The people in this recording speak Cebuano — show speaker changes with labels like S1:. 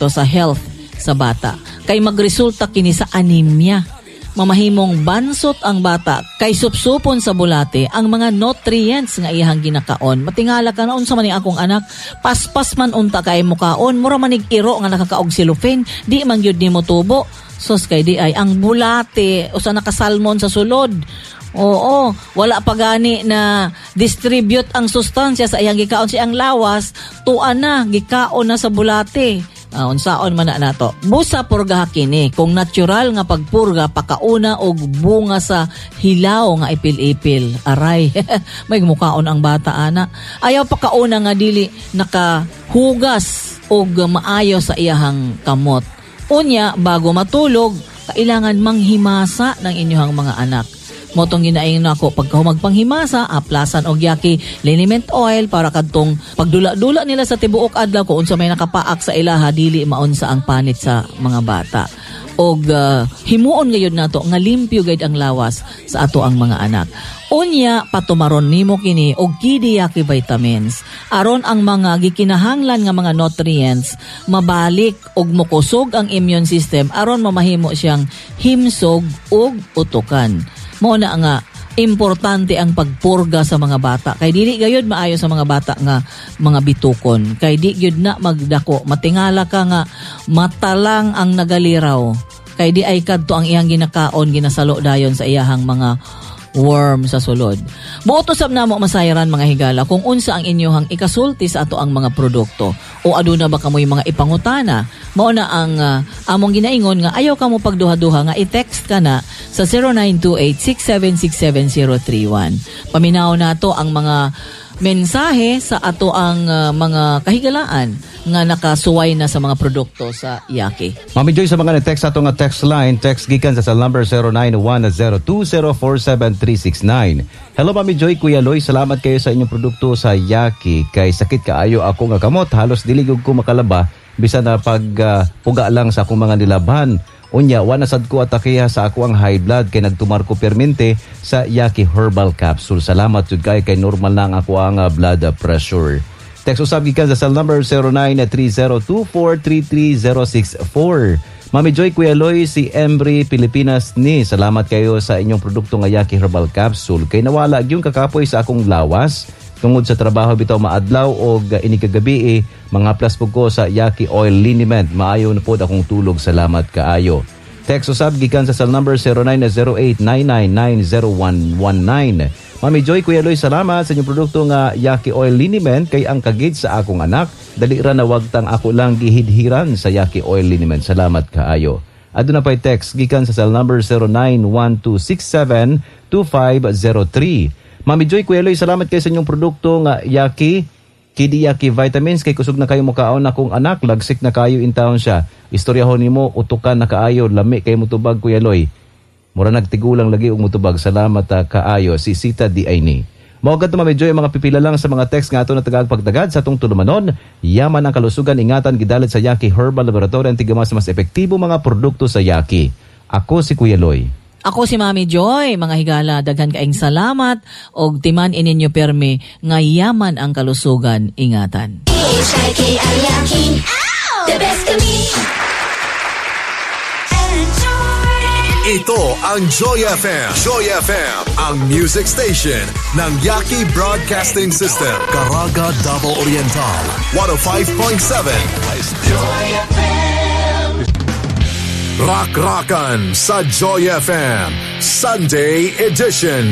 S1: Sa health sa bata. Kay magresulta kini sa anemia. Mamahimong bansot ang bata kay supsupon sa bulate ang mga nutrients nga iyang ginakaon. Matingala ka na, unsa man ni akong anak, paspas man unta kay mukaon, mura manig iro nga nakakaog cellophane, di man gyud nimo tubo. Sos, kay di ay ang bulate usa naka salmon sa sulod. Oo, wala pa gani na distribute ang sustansya sa iyang gikaon sa iyang lawas, tuan na, gikaon na sa bulate. Unsaon man na nato. Busa purga kini kung natural nga pagpurga, pakauna og bunga sa hilaw nga ipil-ipil. Aray, may mukaon ang bata ana. Ayaw pakauna nga dili nakahugas og maayo sa iyahang kamot. Unya, bago matulog, kailangan manghimasa ng inyong mga anak. Mao tong ginaingon nako, pagka magpanghimasa, aplasan og Yaki liniment oil para kadtong pagdula-dula nila sa tibuok adlaw, kung unsa may nakapaak sa ilaha, dili maunsa ang panit sa mga bata. Og himuon gayud nato nga limpyo gayud ang lawas sa ato ang mga anak. Unya, patumaron nimo kini og Kidiyaki vitamins aron ang mga gikinahanglan nga mga nutrients mabalik og mokusog ang immune system aron mamahimo siyang himsog ug utukan. Mao na nga importante ang pagpurga sa mga bata kay dili gayud maayo sa mga bata nga mga bitukon kay di gyud na magdako. Matingala ka nga mata lang ang nagaliraw kay di ay kadto ang iyang ginakaon ginasalo dayon sa iyahang mga worm sa sulod. Buot usab namo masayran, mga higala, kung unsa ang inyohang ikasulti sa ato ang mga produkto o aduna ba kamoy mga ipangutana. Mao na ang among ginaingon nga ayaw kamo pagduha-duha nga i-text ka na sa 0928-6767031. Paminaw nato ang mga mensahe sa ato ang mga kahigalaan nga nakasuway na sa mga produkto sa Yaki.
S2: Mami Joy, sa mga ni-text ato nga text line, text gikan sa cell number 0910-2047369. Hello, Mami Joy, Kuya Loy, salamat kayo sa inyong produkto sa Yaki. Kay sakit kaayo ako nga kamot, halos dili gyud ko makalaba bisan na pag puga lang sa akong mga nilabhan. Unya, wa na sad ko atakiha sa ako ang high blood kay nagtumar ko permente sa Yaki Herbal Capsule. Salamat jud kay kay normal na ang ako ang blood pressure. Text usab gikan sa cell number 0930-2433064. Mami Joy, Kuya Loy, si Embry Pilipinas ni. Salamat kayo sa inyong produkto nga Yaki Herbal Capsule. Kay nawala gyud kakapoy sa akong lawas. Tungod sa trabaho bitaw maadlaw og inikagabi eh, mga plus po ko sa Yaki Oil Liniment. Maayo na pod akong tulog. Salamat kaayo. Text usab gikan sa cell number 0908-9990119. Mami Joy, Kuya Loy, salamat sa inyong produkto nga Yaki Oil Liniment kay ang kagid sa akong anak. Dali ra na wagtang ako lang gihidhiran sa Yaki Oil Liniment. Salamat kaayo. Aduna pa'y text gikan sa cell number 0912672503. Mami Joy, Kuya Loy, salamat kayo sa inyong produkto nga Yaki Kidiyaki Vitamins kay kusog na kayo mukaon akong anak, lagsik na kayo in town siya. Istoryahon nimo, utukan na kaayo, lami kay mutubag, Kuya Loy. Mura nagtigulang lagi og mutubag. Salamat kaayo, si Sita di ay ni. Mao kadto, Mami Joy, ang mga pipila lang sa mga text nga ato na tagag pagtagad sa atong tulumanon. Yaman ang kalusugan, ingatan, gidalit sa Yaki Herbal Laboratory, ang tigamas mas epektibo mga produkto sa Yaki. Ako si Kuya Loy.
S1: Ako si Mami Joy, mga higala, daghan kaayong salamat og timan ininyo permi nga yaman ang kalusugan, ingatan.
S3: H-I-K-I-Yaki. The best kami.
S4: Ito ang Joy FM. Joy FM, ang music station ng Yaki Broadcasting System. Caraga, Davao Oriental, 105.7.
S3: Joy FM.
S4: Rock-rockan sa Joy FM, Sunday Edition.